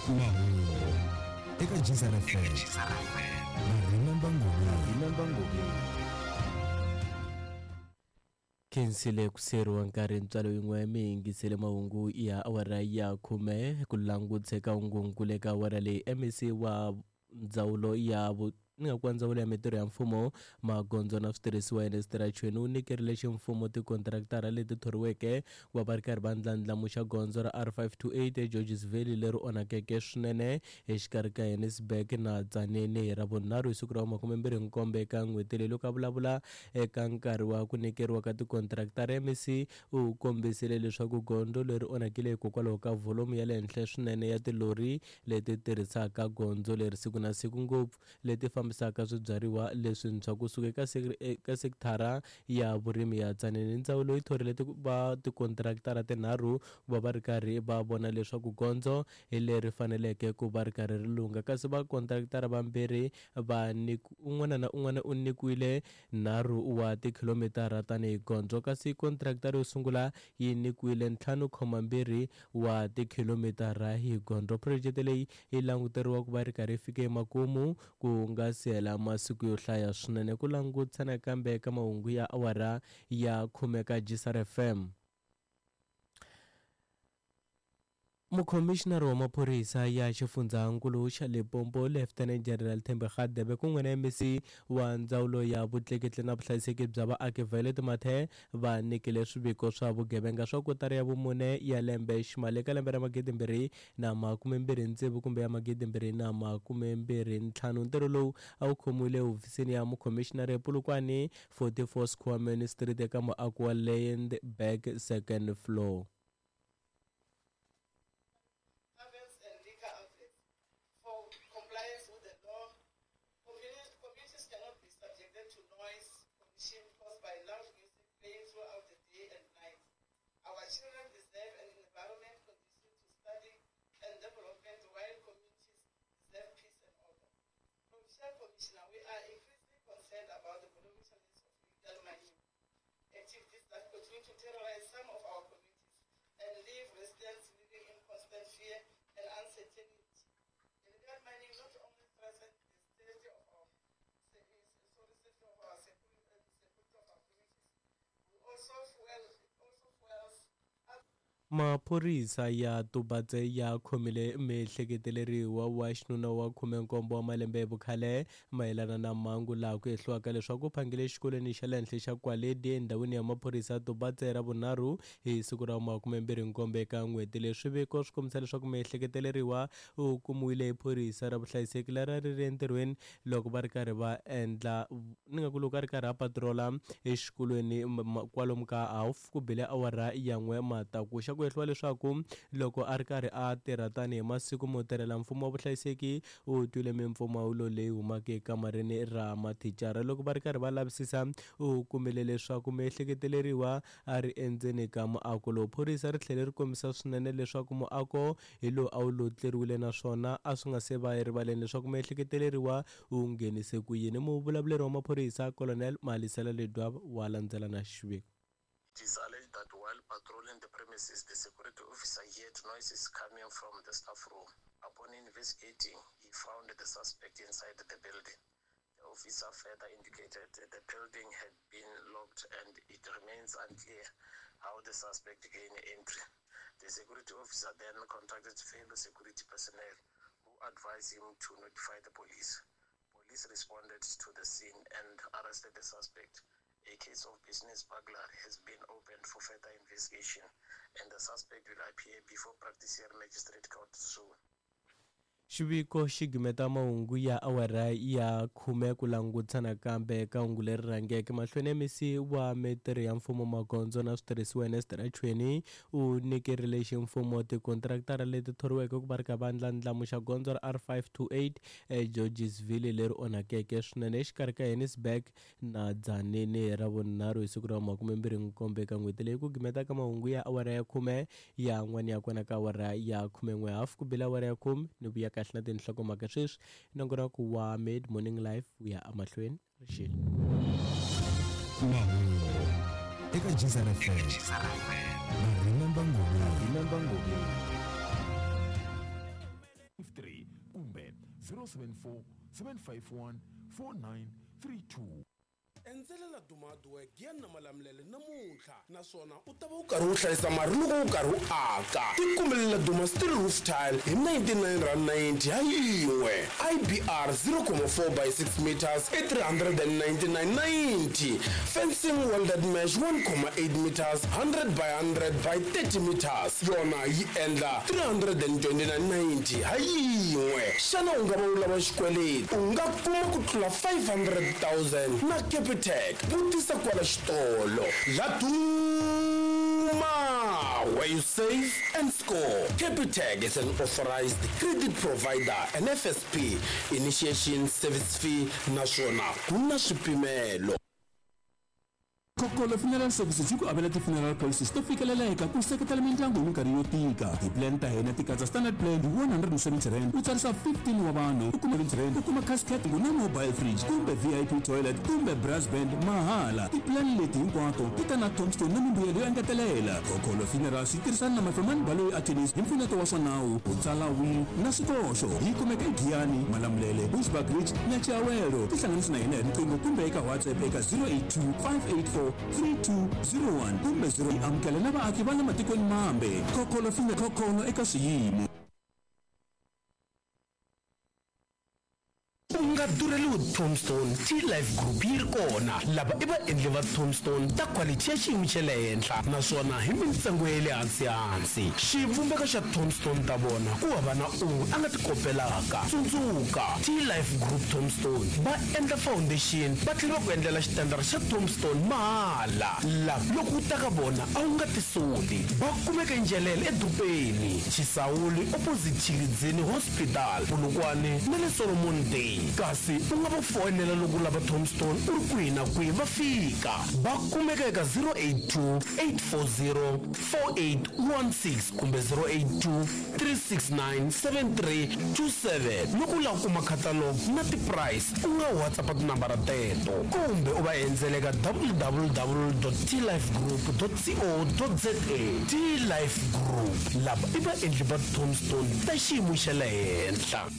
Mahungu eka Jizara FM na Remember Ngobeni. Khensile ku siyeriwa nkarhi ntswalo yin'we mi yingisele mahungu ya awara ya khume ku langutse ka hungunkulu eka awara leyi MEC wa ndzawulo ya ni nga ku ndzawulo ya mitirho ya mfumo magondzo na switirhisiwa Ernest Chweni u nyikerile ximfumo tikontraktara leti thoriweke ku va va ri karhi va ndlandlamuxa gondzo ra R528 eGeorges Valley leri onhakeke swinene exikarhi ka Johannesburg na Tzaneen hi Ravunharhu hi siku ra 27 eka n'hweti leyi. Loko a vulavula eka nkarhi wa ku nyikeriwa ka tikontraktara, MEC u kombisile leswaku gondzo leri onhakile hikokwalaho ka vholomu ya le henhla swinene ya tilori leti tirhisaka gondzo leri siku na siku, ngopfu leti fambisaka swibyariwa leswintshwa kusuka eka sekithara ya vurimi ya Tzaneen. Ndzawulo yi thorile va tikontraktara tinharhu ku va va ri karhi va vona leswaku gondzo hi leri faneleke ku va ri karhi ri lungha, kasi vakontraktara vambirhi va un'wana na un'wana u nyikiwile 3 wa tikhilomitara tanihi gondzo, kasi kontraktara yo sungula yi nyikiwile 5.2 wa tikhilomitara hi gondzo. Phurojeke leyi yi languteriwa ku va ri karhi yi fike emakumu ku nga si hela masiku yo hlaya swinene. Ku langutisa nakambe eka mahungu ya awara ya 10 ka Jisar FM. Mukhomixinari wa maphorisa ya xifundzankulu xa Limpopo Lieutenant General Thembi Radebe kun'we na MEC wa ndzawulo ya vutleketli na vuhlayiseki bya vaaki Violet Mathe va nyikile swiviko swa vugevenga swa kotara ya vumune ya lembe ximali eka lembe ra 2026 kumbe ya 2025. Ntirho lowu a wu khomiwile ehofisini ya mukhomixinari ePolokwane 44 Squameni Street eka muako wa Landbank second floor. Maphorisa ya Tubatse ya khomile miehleketeleriwa wa xinuna wa 17 wa malembe hi vukhale mayelana na mhangu laha ku hehliwaka leswaku u phangile exikolweni xa le henhla xa Kwaledi endhawini ya maphorisa ya Tubatse Ravunharhu hi siku ra 27 eka n'hweti leyi. Swiviko swi kombisa leswaku miehleketeleriwa u kumiwile hi phorisa ra vuhlayiseki leri a ri ri entirhweni loko va ri karhi va endla ni nga ku loko a ri karhi a patrola exikolweni kwalomu ka half ku bile awara ya 1 matakuxa. Ku hehliwa leswaku loko a ri karhi a tirha tanihi masiku mo tirhela mfumo wa vuhlayiseki u twile mimpfumawulo leyi humaka ekamareni ra mathicara. Loko va ri karhi va lavisisa u kumile leswaku miehleketeleriwa a ri endzeni ka muako lowu. Phorisa ri tlhele ri kombisa swinene leswaku muako hi lowu a wu lotleriwile naswona a swi nga se va erivaleni leswaku miehleketeleriwa u nghenise ku yini. Muvulavuleri wa maphorisa Colonel Malisela Ledwaba wa landzela na xiviko. It is alleged that while patrolling the premises, the security officer heard noises coming from the staff room. Upon investigating, he found the suspect inside the building. The officer further indicated that the building had been locked and it remains unclear how the suspect gained entry. The security officer then contacted fellow security personnel who advised him to notify the police. Police responded to the scene and arrested the suspect. A case of business burglary has been opened for further investigation, and the suspect will appear before Praktiseer Magistrate Court soon. Xiviko xi gimeta mahungu ya awara ya 10 ku langutisa nakambe eka hungu leri rhangeke mahlweni. MEC wa mitirho ya mfumo magondzo na switirhisiwa Ernest Chweni u nyikerile ximfumo tikontraktara leti thoriweke ku va ri ka va ndlandlamuxa gondzo ra R528 eGeorgesville leri onhakeke swinene exikarhi ka Johannesburg na Tzaneen Ravunharhu hi siku ra 27 eka n'hweti leyi. Ku gimeta ka mahungu ya awara ya 10 ya n'wana ya kona ka awara ya 11:30 ku bile awara ya 10 ni vuya kahle na tinhlokomhaka sweswi nongonoko wa Mid Morning Live wu ya emahlweni rixile. Mahungu eka Jizar FM na Remember Ngobeni. 074 751 4932. Endzela Laduma Hardwork ya na Malamulele namuntlha, naswona u ta va u karhi u hlayisa mali loko u karhi u aka. Tikumele Laduma steel roof tile hi R99.90 ha yin'we, IBR 0.4 by 6 meters i 399.90, fencing welded mesh 1.8 meters 100 by 100 by 30 meters yona yi endla 329.90 ha yin'we. Xana u nga va u lava xikweleti? U nga kuma ku tlula 500 000 na Capitec. Vutisa kwala xitolo. Laduma, where you save and score. Capitec is an authorized credit provider and FSP. Initiation service fee naswona ku na swipimelo. Kokolo Funeral Services yi ku avela ti-funeral policies to fikeleleka ku seketela mindyangu hi minkarhi yo tika. Ti-plan ta hina ti katsa standard plan hi R170, u tsarisa 15 wa vanhu, u kuma R70, u kuma casket na mobile fridge kumbe VIP toilet kumbe brass band mahala. Ti-plan leti hinkwato ti ta na tombstone na mimbuyelo yo engetelela. Kokolo Funerals yi tirhisana na Mafemani Baloyi Attorneys hi mpfuneto wa swa nawu, ku tsala will na swikoxo. Yi kumeka eGiyani, Malamulele, Bushbuckridge na Chiawelo. Tihlanganisi na hina hi riqingho kumbe eka WhatsApp eka 082 584 3201 kumbe 0. Yi amukela na vaaki va le matikweni mambe. Kokolo fine kokolo eka swiyimo. U nga durheliwi tombstone, T-Life Group yi ri kona. Lava i vaendli va tombstone ta quality ya xiyimo xa le henhla, naswona hi mintsengo ya le hansi-hansi. Xivumbeko xa tombstone ta vona ku hava na un'we a nga ti kopelaka. Tsundzuka, T-Life Group tombstone va endla foundation, va tlhela va ku endlela xitandara xa tombstone mahala. La loko u ta ka vona a wu nga tisoli. Va kumeka eNdzhelele edorobeni, Chisawuli opposite Tshilidzini Hospital, Polokwane na le Solomon Day. Kasi u nga va foyinela loko u lava tombstone u ri kwihi na kwihi, va fika. Va kumeka eka 082 840 4816 kumbe 082 369 7327. Loko u lava ku kuma catalog na ti-price, u nga WhatsApp tinambara teto kumbe u va endzela eka www.tlifegroup.co.za. T-Life Group, lava i vaendli va tombstone ta xiyimo xa le henhla.